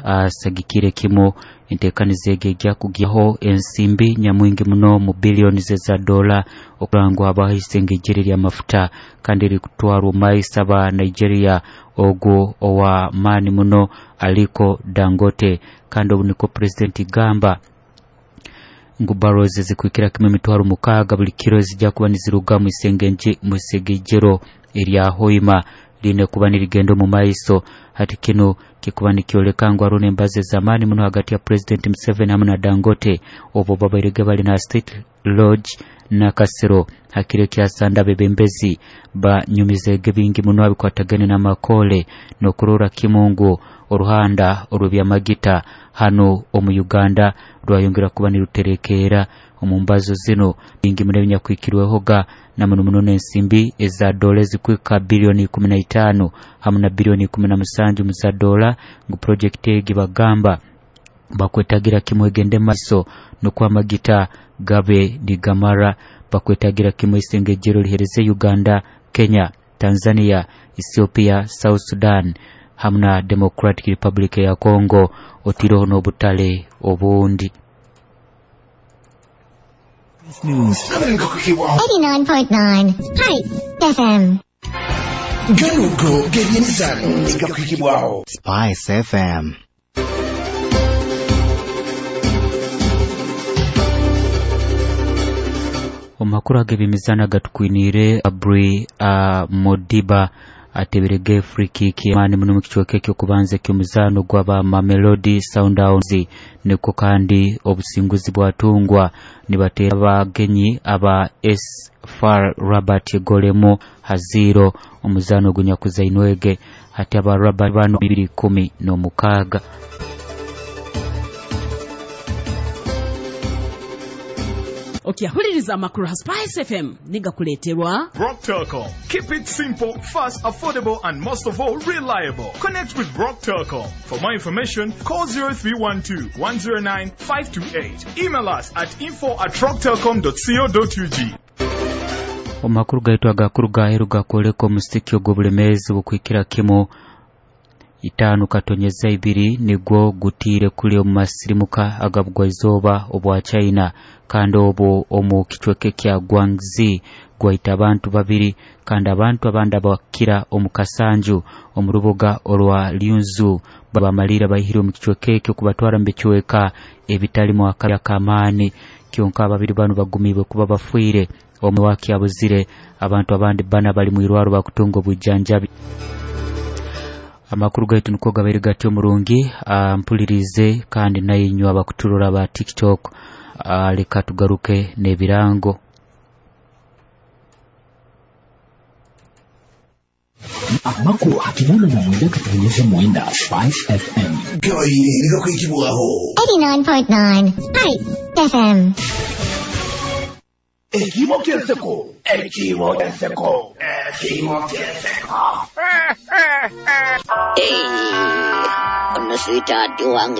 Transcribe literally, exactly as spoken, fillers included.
Asagikire kimu entekaniza egi ejja kugyaho ensimbi nyamwingi muno mu billions za dola okurangwa habaho isengejere ly'amafuta kandi rikutwarwa maiso aba Nigeria ogwo owa maani muno Aliko Dangote. Kandi obu niko Pulezidenti gamba ngu barrels zikwikira kimwe emitwaro mukaaga buli kiro zijja kuba niziruga mu isengejero erya Hoima line kuba nirigenda omu maiso. Hati kino kikuba nikyoleka ngu hariho n'embazo ez'amaani muno hagati ya Pulezidenti Museveni hamu na Dangote obwo babairege bali na State Lodge Nakasero hakiro ekyasanda abebembezi banyumizege bingi muno abikwatagane n'amakole n'okurora kimu ngu oruhanda orw'ebyamagita hano omu Uganda rwayongera kuba niruterekeera omu mbazo zino bingi muno ebinyakwikirwehoga na muno muno n'ensimbi eza dola ezikwika biliyoni ikumi na itaano hamu na biliyoni ikumi na musanju mu za dola ngu projekiti egi bagamba bakwetagira kimwe egende maiso nukwo amagita gabe nigamara. Bakwetagira kimwe isengejero lihereze Uganda, Kenya, Tanzania, Ethiopia, South Sudan hamu na Democratic Republic ya Congo otiroho n'obutale obundi. News. eighty-nine point nine Spice F M. Ganugo gebyemizano igakwikibwaho Spice F M. Omakuru ag'ebyemizano agatukwiniire Abri uh, Modiba ateberege free kick mani muno mu kicweka eky'okubanza eky'omuzaano gw'aba Mamelodi Sundowns niko kandi obusinguzi bwatungwa nibateera abagenyi aba S F A R Rabat golemo haziro omuzaano ogunyakuzainwege hati aba Rabat bano bibiri kumi n'omukaaga. Okyahuliriza amakuru ha Spice F M nigakuleeterwa Rock Telcom. Keep it simple, fast, affordable and most of all reliable. Connect with Rock Telcom. For more information, call zero three one two, one zero nine, five two eight. Email us at info at rocktelcom dot co dot U G. Omakuru gaitu agakuru gaheru gakwoleka omusiki ogw'obulemeezi bukwikira kimu itaano katonyeza ibiri nigwo gutiire kuli omu masirimuka agabugwaizooba obwa China kandi obwo omu kicweka kya Guangxi gwaita abantu babiri kandi abantu abandi abakira omu kasanju omu rubuga orwa Liuzhou babamalira baihire omu kicweka ekyo kubatwara mu bicweka ebitalimu akabi ak'amaani. Kyonka ababiri bano bagumiibwe kuba bafiire omwe wakyabuzire abantu abandi bana bali mu irwaro bakutunga obujjanjabi. Amakuru gaitu niko gabaire gatyo murungi mpulirize kandi nayinywa abakuturora ba TikTok. Leka tugaruke n'ebirango. Amakuru akinana na mwenda katonyeze mwenda Spice F M. Gabaire nigakwikibwaho eighty-nine point nine Spice F M. Ekimo kyenseko, ekimo kyenseko, ekimo kyenseko. Hey, ono sweetheart wange.